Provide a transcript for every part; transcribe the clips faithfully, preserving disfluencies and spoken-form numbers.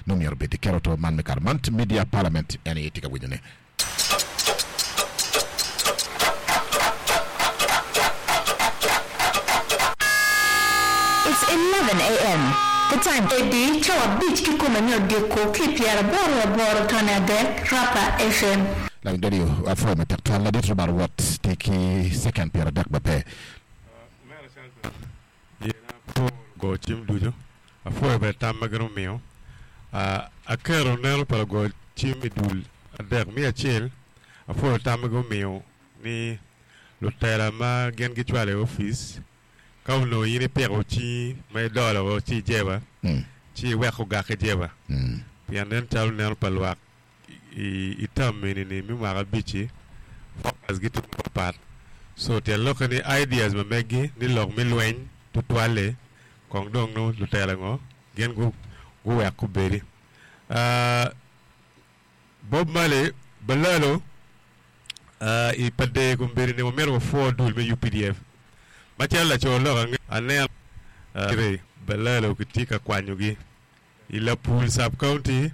No myero bed kero to man me kare man media parliament en aye tye ka winyone. It's eleven A M. The time. Edi cawa abic kikome me odiko ki pyeraboro aboro tone adek, Rapa F M. Lawiny radio apwoyo matek twal ladit Robert Watt tye ki second pyeradek ba pe. Yena apwo go cim ducu apwoyo bene tam ma gin omiyo. Aketo neno pa lago cim i dul adek me acel apwoyo tam ma gin omiyo ni lutela ma gin gicwalo i opic ka onongo in ipiko cingi ma idolo ci ijeba ci iweko ogak ijeba pien nen calo neno pa lwak i tam eni ni me mwaka abic-ci focus gitye mapat. So tyen lokke ni ideas ma meggi ni lok me lweny tutwalle kong dong nongo lutela ngo gin guwek gubedi. Bob Marley Balalo i Pader kombeddi ni wamito wapwo dul me U P D F macalo laco lok ange aneno Balalo kitye ka kwanyogi i Lapul sub county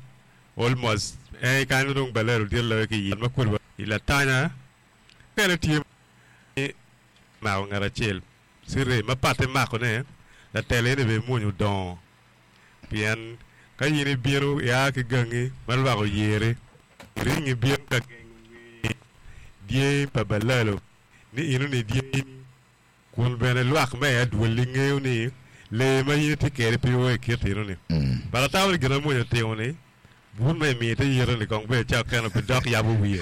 almost en kanyo dong Balalo dit loyo ki i ma kodi i Latanya kene tye mako ngat acel Sire ma patte makone latela eni bene mwonyo odongo pien ka in ibino ia ki gangi ma lwak oyeri ringi bino ka gengo ngeye dyangi pa Balalo ni ino ni dyangi kun bene lwak me adwolli ngeyo ni lee ma in itye kede pe o i kit ino ni but atamo ni gin ma mwonyo otimo ni bun ma imiyo te yito ni kong bene cak keno pe dok yabo wiye.